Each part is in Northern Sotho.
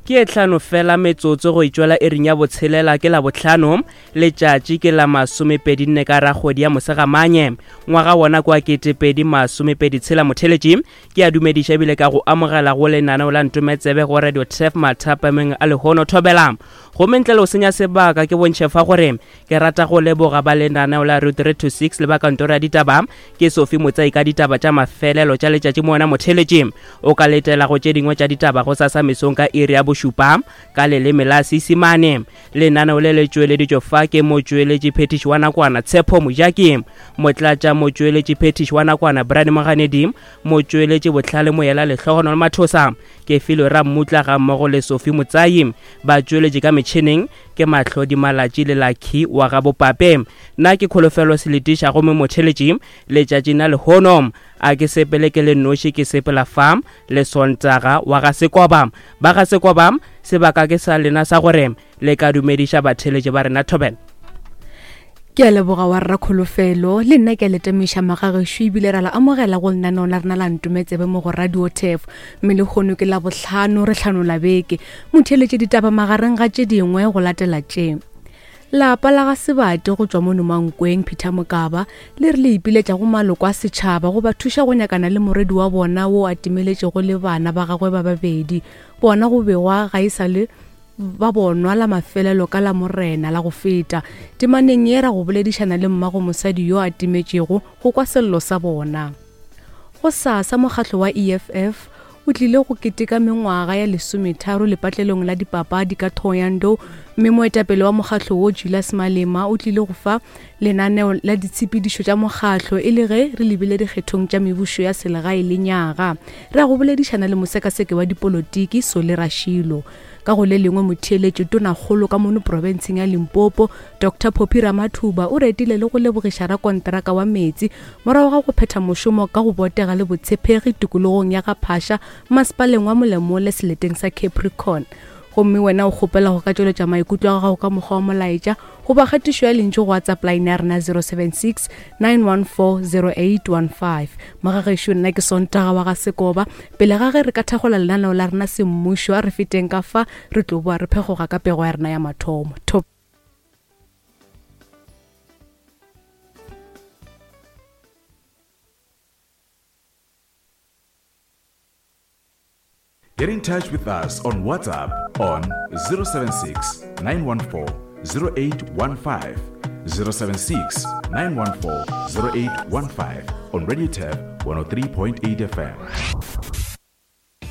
Ke e tlhano fela metsotso go itšwela iring ya botshelela ke Labohlano, letšatši ke la masomepedinne ka rakgwedi ya Mosegamanye, ngwaga wona kwa 2026. Motheletši ke a dumediša ebile ka go amogela go lenaneo la Ntometsebe go Radio Turf mathapameng a lehono thobela. Gomme ntle le go senya sebaka ke bontšhe fa gore ke rata go leboga ba lenaneo la Route 3 to 6 le ba kantoro ya ditaba ke Sophie Motsai ka ditaba tša mafelelo tša letšatši mo wena motheletši o ka letela go tše dingwe tša ditaba go sasa mesong ka iri ya bošupa ka leleme la Seisemane. Lenaneo le le tšweleditšwe fa ke motšweletši phethiši wa nakwana Tshepo Mojaki, motlatša motšweletši phethiši wa nakwana Brian Moganedi, motšweletši Bohlale Moyela Lehlogonolo Mathosa, Kefilwe Rammutla gammogo le Sophie Motsai. Batšweletši ka metšhineng ke Mahlodi Malatši le Lucky wa ga Bopape. Nna ke Kholofelo Seletiša gomme motheletši letšatšing la lehono a ke sepele ke le noši ke sepela fa le Sontaga wa ga Sekoba. Ba ga Sekoba sebaka ke sa lena sa gore le ka dumediša batheletši ba rena thobela. Ke a leboga wa rra Kholofelo, le nna ke a le tamiša magagešo ebile ra la amogela go lenaneo la rena la Ntometsebe mo go Radio Turf. Mme lehono ke Labohlano re hlanola beke. Motheeletše ditaba magareng ga tše dingwe go latela tše. Lapa la ga Sebate go tšwa mono Mankweng, Peter Mokaba, le re le ipiletša go maloko a setšhaba go ba thuša go nyakana le morwedi wa bona wo a timeletšego le bana ba gagwe ba babedi. Bona go begwa ga e sa le ba bonwa la mafelelo ka Lamorena la go feta. Temaneng ye ra go boledišana le mmago mosadi yo a timetšego go kwa sello sa bona. Gosasa mokgatlo wa EFF o tlile go keteka mengwaga ya lesometharo lepatlelong la dipapadi ka Thohoyandou mme moetapele wa mokgatlo wo Julius Malema o tlile go fa lenaneo la ditshepedišo tša mokgatlo e le ge re lebile dikgethong tša mebušo ya selegae lenyaga. Re ya go boledišana le mosekaseki wa dipolotiki Solly Rashilo. Ka go le lengwe motheeletši tonakgolo ka mono profenseng ya Limpopo, Doctor Phophi Ramathuba o retile le go lebogiša rakonteraka wa meetse morago ga go phetha mošomo ka go botega le botshepegi tikologong ya ga Phasha masepaleng wa Molemole seleteng sa Capricorn. Gomme wena o kgopela go ka tšweletša maikutlo a gago ka mokgwa wa molaetša goba kgatišo ya lentšu go WhatsApp line ya rena 076 914 0815. Mogagešo nna ke Sontaga wa ga Sekoba. Pele ga ge re ka thakgola lenaneo la rena semmušo, a re feteng ka fa re tlo boa re phekgoga ka pego ya rena ya mathomo. Top. Get in touch with us on WhatsApp on 076 914 0815. 076 914 0815 on Radio Tab 103.8 FM.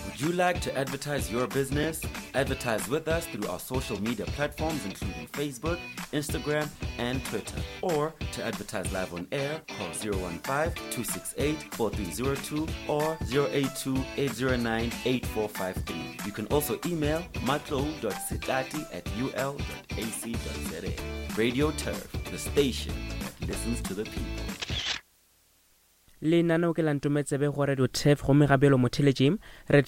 Would you like to advertise your business? Advertise with us through our social media platforms, including Facebook, Instagram, and Twitter. Or to advertise live on air, call 015-268-4302 or 082-809-8453. You can also email matlo.sitati at ul.ac.za. Radio Turf, the station that listens to the people. Lenaneo ke la Ntometsebe go Radio Turf gomme ga bjalo motheletši re.